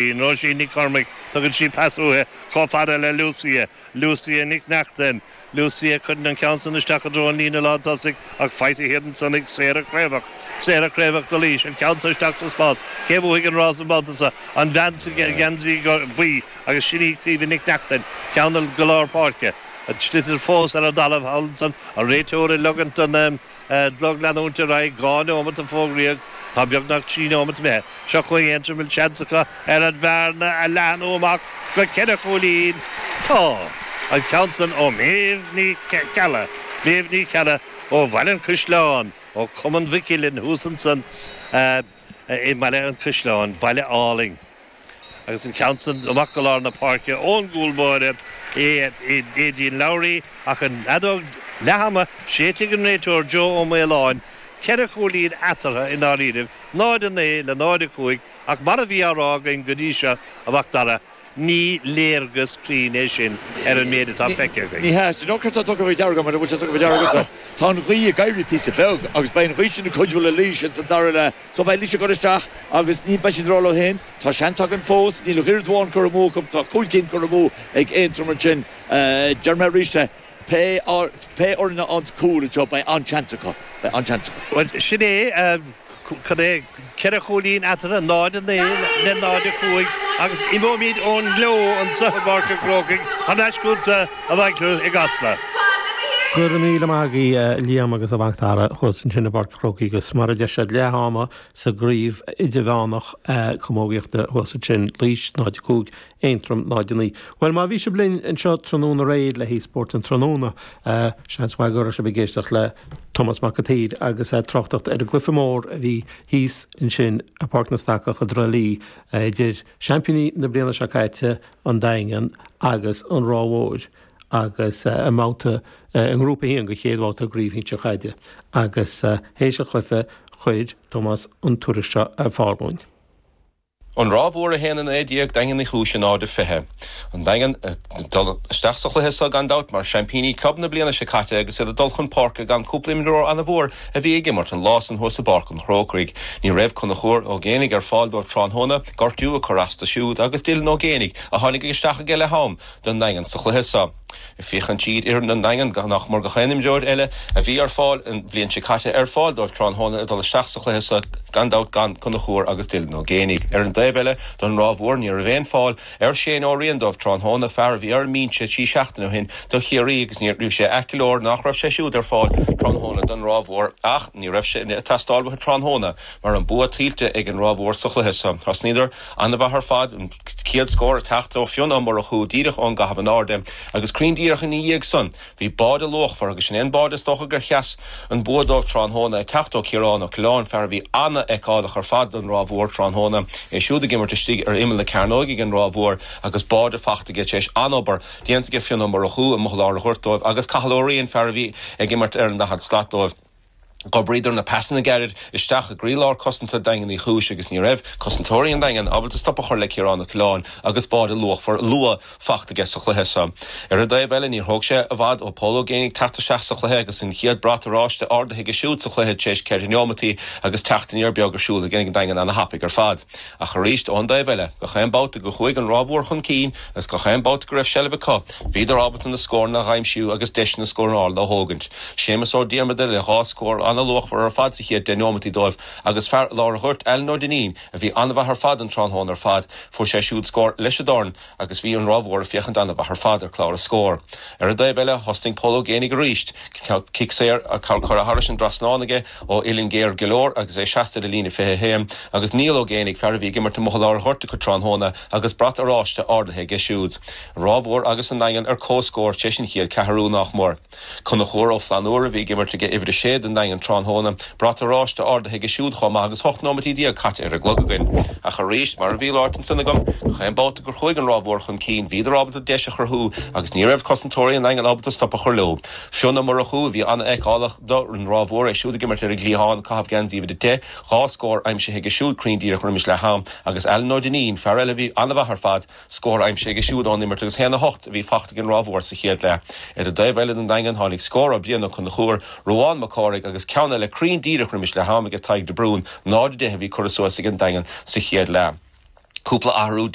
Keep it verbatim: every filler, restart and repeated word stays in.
Róisín Nic Cormaic tugann sí pas uaithi chomh fada le Lucia, Lucia Nic Neachtain, Lucia cuireann an ceann san isteach i dtreo an líne lántosaigh ach faighte thiar ansan ag Sarah Craobhach, Sarah Craobhach do Laois, an ceann san isteach sa spás, cé bhuafaidh an rás an babhta seo? An bhean sa gheansaí buí agus sin í Caoimhe Nic Neachtain, ceann go lár páirce, an sliotar fós ar an dtalamh thall ansan, an réiteoir ag ligean don gclog leanúint ar aghaidh, dhá neomat a fógraíodh, tá beagnach trí neomat imithe. Seo chugainn Aontroim, bhfuil seans acu ar an bhearna a leathnú amach go ceithre chúilín. Tá! An ceann san ó Méabh Ní Cheallaigh, Méabh Ní Cheallaigh ó Bhaile an Chaisleáin, ó Chumann Mhic Uilinn thuas ansan i mBaile an Chaisleáin, baile álainn. Agus an ceann san amach go lár na páirce ón gcúl báire, Aideen Lowry, ach an fheadóg leath-ama séidte ag an réiteoir Joe Ó Maoláin, ceithre chúilín eatarthu i ndáiríribh, náid a naoi le náid a cúig, ach mar a bhí á rá againn go dtí seo, a Mhac Dara, ní léargas cruinn é sin ar an méid atá feicthe againn. Ní hea, do you know céard atá tugtha faoi deara agam, mura bhfuil sé tugtha faoi deara agatsa? Tá an ghaoth ag éirí píosa beag agus beidh an ghaoth sin ag cuidiú le Laois ins an dara leath. So beidh Laois ag dul isteach agus ní beidh siad ag rá leo féin, tá seans againn fós, níl ach oiread amháin curtha amú acu, tá cúig cinn curtha amú ag Aontroim ansin. Deir mé arís é, pé pé fhoireann a fhaigheanns cúl anseo beidh an-seans acu, beidh an-seans acu. Bhuel, sin é, cad é, ceithre chúilín eatarthu, náid a naoi le náid a cúig, agus imeoimid ón ngleo anseo i bPáirc an Chrócaigh thar n-ais chugatsa, a Mhichael, i gCasla. Go raibh míle maith agaibh, a Liam agus a Mhac Dara, thuas ansin i bPáirc an Chrócaigh agus mar a deir siad, leath ama sa gcraobh idirmheánach camógaíochta thuas ansin, Laois náid a cúig, Aontroim náid a naoi. Bhuel, má bhí sibh linn anseo tráthnóna aréir le haghaidh Spórt an Tráthnóna, seans maith go raibh sibh ag éisteacht le Tomás Mac an tSaoir agus é ag tráchtacht ar an gcluiche mór a bhí thíos ansin i bPáirc na Stacach i dTrá Lí idir seaimpíní na bliana seo caite, an Daingean, agus an Ráth Mhór agus i mbabhta i ngrúpa a haon de chéad bhabhta i gcraobh shinsir chaide agus théis an chluiche chuir Tomás an tuairisc seo ar fáil dúinn. An Ráth Mhór a haon a naoi déag, Daingean Uí Chúis a náid a fiche. An Daingean ag dul isteach sa chluiche seo gan dabht mar seaimpíní club na bliana seo caite agus iad ag dul chun páirce gan cúpla imreoir an-mhór a bhí ag imirt an lá san thuas i bPáirc an Chrócaigh. Ní raibh Conchúr Ó Géanaigh ar fáil dóibh tráthnóna, gortú ag cur as dó siúd agus Dylan Ó Géanaigh a tháinig isteach ag leath am don Daingean sa chluiche seo. Féachann siad fhoireann an Daingin nach mór gach aon imreoir eile a bhí ar fáil an bhliain seo caite ar fáil dóibh tráthnóna ag dul isteach sa chluiche seo gan dabht gan Conchúr agus Dylan Ó Géanaigh. Ar an dtaobh eile don Ráth Mhór ní raibh aon fáil ar Shane Ó Riain dóibh tráthnóna, fear a bhí ar an mbinse trí seachtaine ó shin do Chiarraí agus ní raibh sé ait go leor nach raibh sé siúd ar fáil tráthnóna don Ráth Mhór ach ní raibh sé ag teastáil uathu tráthnóna mar an bua tuillte ag an Ráth Mhór sa chluiche seo. Thosnaíodar an-mhaith ar fad, an chéad scór ag teacht ó Fionn Ó Murchú díreach ón gcaitheamh in airde agus cruinn díreach ina dhiaidh san bhí báide luachmhar agus sin é an báide is dócha gur sheas an bua dóibh tráthnóna ag teacht ó Chiarán Ó Coileáin, fear a bhí an-fheiceálach ar fad don Ráth Mhór tráthnóna, é siúd ag imirt istigh ar imeall na cearnóige ag an Ráth Mhór agus báide fachta aige tar éis an-obair déanta aige Fionn Ó Murchú amuigh i lár an ghoirt dóibh agus Cathal Ó Riain, fear a bhí ag imirt ar an daichead slat dóibh. Dh'oibríodar na pasanna gairid isteach i gcroílár cosanta Daingean Uí Chúis agus ní raibh cosantóirí an Daingin ábalta stop a chur le Ciarán Ó Coileáin agus báide luachmhar luath fachta aige sa chluiche seo. Ar an dtaobh eile níor thóg sé i bhfad ó Pól Ó Géibheannaigh teacht isteach sa chluiche agus an chéad brat oráiste ardaithe aige siúd sa chluiche tar éis ceithre neomataí agus teacht aniar beag ar siúl ag an Daingean ana-thapaidh ar fad. Ach arís ón dtaobh eile, gach aon babhta gur chuaigh an Ráth Mhór chun cinn agus gach aon babhta go raibh seilbh acu, bhíodar ábalta na scóranna a aimsiú agus deiseanna scórála a thógaint. Séamus Ó Diarmada le dhá scór an-luachmhar ar fad sa chéad deich neomataí dóibh agus fear lár an ghoirt Alan Ó Duinnín a bhí an-mhaith ar fad an tráthnóna ar fad, fuair sé siúd scór leis an dorn agus bhí an Ráth Mhór ag féachaint an-mhaith ar fad ar chlár na scór. Ar an dtaobh eile, thosnaigh Pól Ó Géibheannaigh arís, cic saor curtha thairis an dtrasnán aige ó uillinn géar go leor agus é seasta ar an líne fiche a haon agus Niall Ó Géibheannaigh, fear a bhí ag imirt amuigh i lár an ghoirt acu tráthnóna agus brat oráiste ardaithe aige siúd. An Ráth Mhór agus an Daingean ar comhscór tar éis an chéad ceathrú nach mór. Conchúr Ó Flannúra a bhí ag imirt ag uimhir a sé don Daingean tráthnóna, brat oráiste ardaithe aige siúd chomh maith agus ocht nóimeataí déag caite ar an gclog againn. Ach arís, mar a bhí ráite ansan agam, gach aon babhta gur chuaigh an Ráth Mhór chun cinn, bhíodar ábalta deis a chruthú agus ní raibh cosantóirí an Daingin ábalta stop a chur leo. Fionn Ó Murchú a bhí an-fheiceálach don Ráth Mhór, é siúd ag imirt ar an gcliathán, ag caitheamh geansaí uimhir a deich, dhá scór aimsithe aige siúd cruinn díreach roimis leath am, agus Alan Ó Duinnín, fear eile a bhí an-mhaith ar fad, Scór aimsithe aige siúd ón imirt agus a haon a hocht a bhí fachta ag an Ráth Mhór sa chéad leath. Ar an dtaobh eile don Daingean tháinig scór ó Brian Ó Conchúir, Ruadhán Mac Cárthaigh agus ceann eile cruinn díreach roimis leath am ag Tadhg de Brún, náid a deich a bhí curtha suas ag an Daingean sa chéad leath. Cúpla athrú